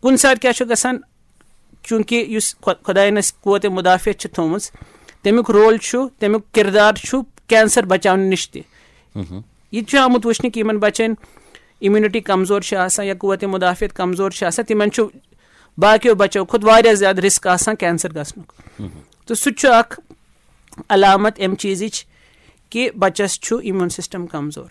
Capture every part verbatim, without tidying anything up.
کُنہِ ساتہٕ کیٛاہ چھُ گژھان؟ چوٗنٛکہِ یُس خۄ- خۄدایَن اَسہِ قوت مدافعت چھِ تھٲومٕژ، تَمیُک رول چھُ، تَمیُک کِردار چھُ کینسر بچاونہٕ نِش تہِ۔ یہِ تہِ چھُ آمُت وٕچھنہٕ کہِ یِمَن بَچَن اِمیوٗنِٹی کمزور چھِ آسان یا قوت مدافعت کمزور چھِ آسان، تِمَن چھُ باقیو بَچو کھۄتہٕ واریاہ زیادٕ رِسک آسان کینسر گژھنُک۔ تہٕ سُہ تہِ چھُ اَکھ علامت اَمہِ چیٖزٕچ کہِ بَچَس چھُ اِمیوٗن سِسٹَم کمزور۔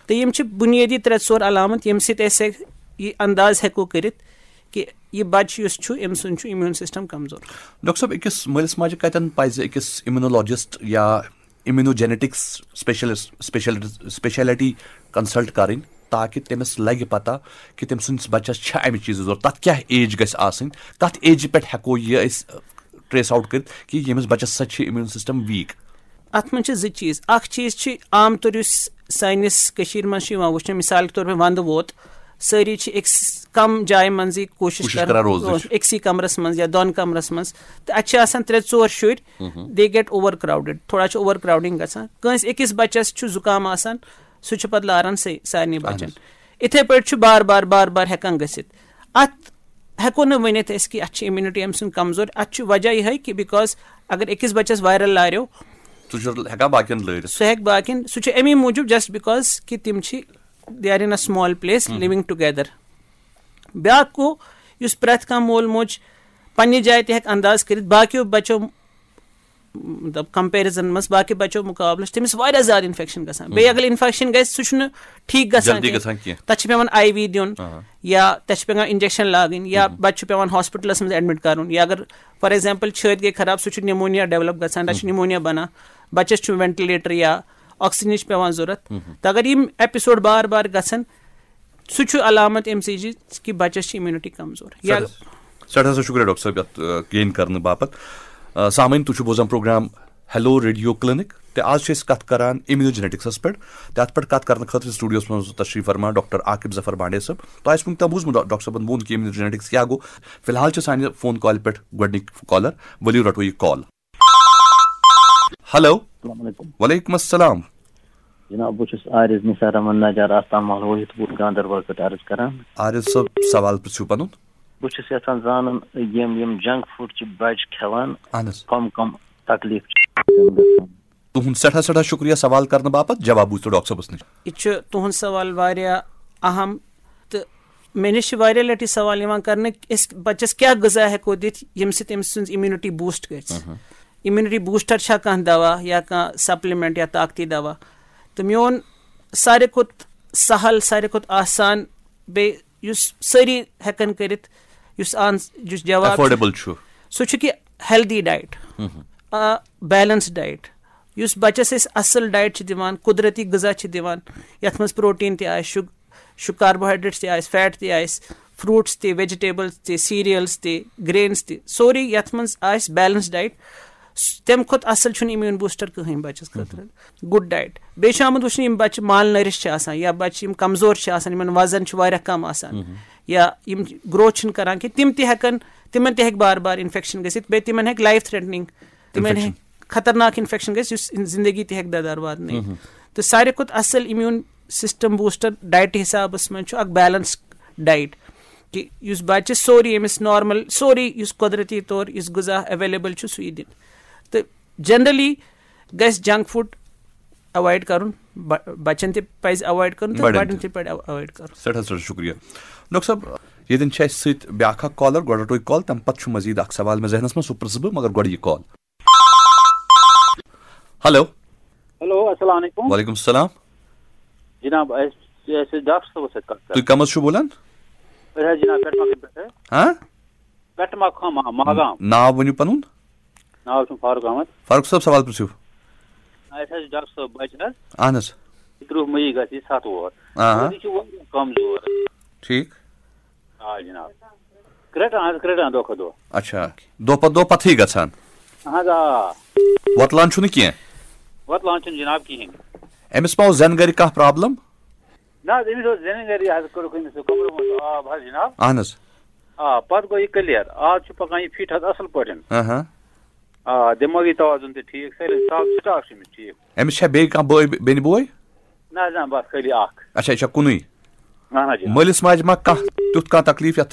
تہٕ یِم چھِ بُنیٲدی ترٛےٚ ژور علامت، ییٚمہِ سۭتۍ أسۍ یہِ انداز ہٮ۪کو کٔرِتھ کہِ یہِ بَچہٕ یُس چھُ، أمۍ سُنٛد چھُ اِمیوٗن سِسٹَم کمزور۔ ڈاکٹر صٲب، أکِس مٲلِس ماجہِ کَتٮ۪ن پَزِ أکِس اِمیونولوجسٹ یا اِمیونوجینیٹکس سپیشلسٹ سپیشل سپیشلٹی کنسلٹ کَرٕنۍ، تاکہِ تٔمِس لَگہِ پَتہ کہِ تٔمۍ سٕنٛدِس بَچَس چھےٚ اَمہِ چیٖزٕچ ضروٗرت؟ تَتھ کیٛاہ ایج گژھِ آسٕنۍ؟ کَتھ ایجہِ پٮ۪ٹھ ہٮ۪کو یہِ أسۍ ٹریس آوُٹ کٔرِتھ کہِ ییٚمِس بَچَس سۭتۍ چھِ اِمیوٗن سِسٹَم ویٖک؟ اَتھ منٛز چھِ زٕ چیٖز۔ اَکھ چیٖز چھِ عام طور یُس سٲنِس کٔشیٖرِ منٛز چھُ یِوان وٕچھنہٕ، مِثال کے طور پہ وَندٕ ووت، سٲری چھِ أکِس کَم جایہِ منٛزٕے کوٗشِش کوٗشِش کران، کران روزنٕچ۔ أکسٕے کَمرَس منٛز یا دۄن کَمرَس منٛز، تہٕ اَتہِ چھِ آسان ترٛےٚ ژور شُرۍ، they get over crowded، تھوڑا چھُ اوور کراوڈنگ گژھان۔ کٲنٛسہِ أکِس بَچَس چھُ زُکام آسان، سُہ چھُ پَتہٕ لاران سٲ- سارنٕے بَچَن۔ اِتھَے پٲٹھۍ چھُ بار بار بار بار ہٮ۪کان گٔژھِتھ۔ اَتھ ہٮ۪کو نہٕ ؤنِتھ أسۍ کہِ اَتھ چھِ اِمیوٗنِٹی أمۍ سٕنٛز کمزور۔ اَتھ چھُ وجہ یِہوٚے کہِ because اگر أکِس بَچَس وایرل لاریو، سُہ چھُ ہٮ۪کان باقین لٲرِتھ۔ سُہ ہٮ۪کہِ باقین، سُہ چھُ اَمی موٗجوٗب just because کہِ تِم چھِ they are in a small place living together۔ بیٛاکھ گوٚو یُس پرٛٮ۪تھ کانٛہہ مول موج پننہِ جایہِ تہِ ہٮ۪کہِ انداز کٔرِتھ، باقیو بَچو مطلب کمپیرزن منٛز باقٕے بَچو مُقابلہٕ چھِ تٔمِس واریاہ زیادٕ انفیکشن گژھان۔ بیٚیہِ اگر انفیکشن گژھِ، سُہ چھُنہٕ ٹھیٖک گژھان جلدی کینٛہہ۔ گژھان کینٛہہ۔ تَتھ چھِ پٮ۪وان آئی وی دیُن، یا تَتھ چھُ پٮ۪وان انجیکشن لاگٕنۍ، یا بَچہٕ چھُ پٮ۪وان ہاسپٹلس منٛز ایڈمٹ کرُن، یا اگر فار ایگزامپل چھٲتۍ گٔے خراب، سُہ چھُ نمونیا ڈیولپ گژھان، تَتھ چھُ نمونیا بنان، بَچَس چھُ وینٹلیٹر یا آکسیجنٕچ پٮ۪وان ضوٚرتھ۔ تہٕ اگر یِم ایپیسوڈ بار بار گژھن، سُہ چھُ علامت اَمہِ چیٖزٕچ کہِ بَچَس چھِ اِمیوٗنِٹی کمزور۔ یا سٮ۪ٹھاہ سٮ۪ٹھاہ سا شُکریہ ڈاکٹر صٲب یَتھ گین کرنہٕ باپتھ۔ آ، سامعیٖن، تُہۍ چھِو بوزان پروگرام ہیلو ریڈیو کلینک، تہٕ آز چھِ أسۍ کَتھ کران اِمیونوجینیٹکسَس پٮ۪ٹھ، تہٕ اَتھ پٮ۪ٹھ کَتھ کرنہٕ خٲطرٕ چھِ سٹوڈیوَس منٛز تشریٖف فرما ڈاکٹر عاقب ظفر بانڈے صٲب۔ تۄہہِ آسہِ وٕنیُک تام بوٗزمُت ڈا- ڈاکٹر صٲبَن ووٚن کہِ اِمیونوجینیٹکس کیٛاہ گوٚو۔ فی الحال چھِ سانہِ فون کالہِ پٮ۪ٹھ گۄڈٕنِکۍ کالر، ؤلِو رَٹو یہِ کال۔ ہیلو۔ السلام علیکم۔ وعلیکم السلام۔ جناب، بہٕ چھُس عارض نثار احمد نجار آستان محل وحید پوٗر گاندربل پٮ۪ٹھ عرض کران۔ عارض صٲب، سوال پرٛژھِو پنُن۔ بہٕ چھُس یژھان زانُن، یِم یِم جنک فوڈ چھِ بچہِ کھٮ۪وان، اہن حظ۔ کم کم تکلیف چھِ تِمن گژھان؟ تُہُنٛد سٮ۪ٹھاہ سٮ۪ٹھاہ شُکریہ سوال کرنہٕ باپتھ۔ جواب بوٗزِو ڈاکٹر صٲبَس نِش۔ یہِ چھُ تُہُنٛد سوال واریاہ اہم، تہٕ مےٚ نِش چھِ واریاہ لٹہِ سوال یِوان کرنہٕ، أسۍ بچس کیٛاہ غذا ہٮ۪کو دِتھ ییٚمہِ سۭتۍ أمۍ سٕنٛز اِمیوٗنِٹی بوٗسٹ گژھِ۔ اِمیوٗنِٹی بوٗسٹر چھا کانٛہہ دوا یا کانٛہہ سپلمنٹ یا طاقتی دوا؟ تہٕ میون ساروی کھۄتہٕ سہل، ساروی کھۄتہٕ آسان، بیٚیہِ یُس سٲری ہٮ۪کن کٔرِتھ، یُس آن یُس جواب چھُ، ایفورڈیبل چھُ۔ سُہ چھُ کہِ ہیلدی ڈایٹ، آ، بیلنس ڈایٹ۔ یُس بچس أسۍ اصل ڈایٹ چھِ دِوان، قدرتی غذا چھِ دِوان، یتھ منٛز پروٹین تہِ آسہِ، شُگ شُگ کاربوہائیڈریٹس تہِ آسہِ، فیٹ تہِ آسہِ، فروٹس تہِ، ویجیٹیبلز تہِ، سیریلز تہِ، گرینز تہِ، سورُے یتھ منٛز آسہِ بیلنس ڈایٹ، تمہِ کھۄتہٕ اصل چھُنہٕ امیون بوسٹر کٕہٕنۍ بچس خٲطرٕ۔ Good diet. بیٚیہِ چھُ آمُت وٕچھنہٕ، یِم بچہِ مال نٔرِش چھِ آسان یا بچہِ یِم کمزور چھِ آسان، یِمن وزن چھُ واریاہ کم آسان، یا یِم گروتھ چھِنہٕ کران کینٛہہ، تِم تہِ ہٮ۪کن، تِمن تہِ ہٮ۪کہِ بار بار انفیکشن گٔژھِتھ، بیٚیہِ تِمن ہٮ۪کہِ لایف تھریٹنگ، تِمن انفیکشن۔ ہٮ۪کہِ خطرناک انفیکشن گژھِ، یُس زندگی تہِ ہٮ۪کہِ ددار واتنٲیِتھ۔ تہٕ ساروی کھۄتہٕ اصل امیون سسٹم بوسٹر ڈایٹ حسابس منٛز چھُ اکھ بیلنس ڈایٹ، کہِ یُس بچہِ سورُے، أمِس نارمل سورُے یُس قۄدرتی طور یُس غذا اویلیبل چھُ، سُہ یہِ دِنہٕ۔ تہٕ جنرلی گژھِ جنک فوڈ اوائڈ کرُن، ب- بچن تہِ پزِ اوائڈ کرُن تہٕ بڑٮ۪ن بڑٮ۪ن تہِ۔ تہِ پزِ اوائڈ کرُن۔ سٮ۪ٹھاہ سٮ۪ٹھاہ شُکریہ۔ ڈاکٹر صٲب، ییٚتٮ۪ن چھِ اَسہِ سۭتۍ بیٛاکھ اکھ کالر، گۄڈٕ رَٹو یہِ کال، تَمہِ پَتہٕ چھُ مزیٖد اکھ سوال مےٚ ذہنَس منٛز، سُہ پرٛژھٕ بہٕ، مگر گۄڈٕ یہِ کال۔ ہیلو۔ ہیلو، السلام علیکم۔ وعلیکم السلام۔ جناب، اَسہِ اَسہِ ٲسۍ ڈاکٹر صٲبَس سۭتۍ کَتھ کَرٕنۍ۔ تُہۍ کَم حظ چھِو بولان؟ أسۍ حظ جناب پٮ۪ٹھ مَکھٕنۍ پٮ۪ٹھ حظ۔ ہاں؟ پٮ۪ٹھ مَکھٕنۍ، ماگام۔ ناو ؤنِو پَنُن۔ ناو چھُم فاروق احمد۔ فاروق صٲب، سوال پرٛژھِو۔ اَسہِ حظ چھِ ڈاکٹر صٲب بَچہِ حظ۔ اہن حظ۔ ترٕٛہ مٔی گژھِ یہِ ستھ وُہُر۔ آ۔ اور یہِ چھُ واریاہ کمزور۔ ٹھیٖک۔ آ جناب۔ کرٛٹان حظ کرٛٹان دۄہ کھۄتہٕ دۄہ۔ اچھا۔ دۄہ پتہٕ دۄہ پتھٕے گژھان۔ اہن حظ آ۔ وۄتلان چھُنہٕ کینٛہہ۔ وۄتلان چھُنہٕ جناب کِہیٖنۍ۔ أمِس ما اوس زٮ۪نہٕ گرِ کانٛہہ پرابلم؟ نہ حظ، أمِس اوس زٮ۪نہٕ گرِ، یہِ حظ کوٚرُکھ أمِس کمرٕ منٛز آب حظ جناب۔ اہن حظ۔ آ، پتہٕ گوٚو یہِ کلیر، آز چھُ پکان یہِ فٹ حظ اصل پٲٹھۍ۔ ہاں ہاں۔ آ، دٮ۪مٲغی توازُن تہِ ٹھیٖک، سٲلِم سب سٹاف چھُ أمِس ٹھیٖک۔ أمِس چھا بیٚیہِ کانٛہہ بٲے بیٚنہِ بوے؟ نہ حظ نہ، بس خٲلی اکھ۔ اچھا، یہِ چھا کُنُے؟ اہن حظ جناب۔ مٲلِس ماجہِ ما کانٛہہ تیُتھ کانٛہہ تکلیٖف یَتھ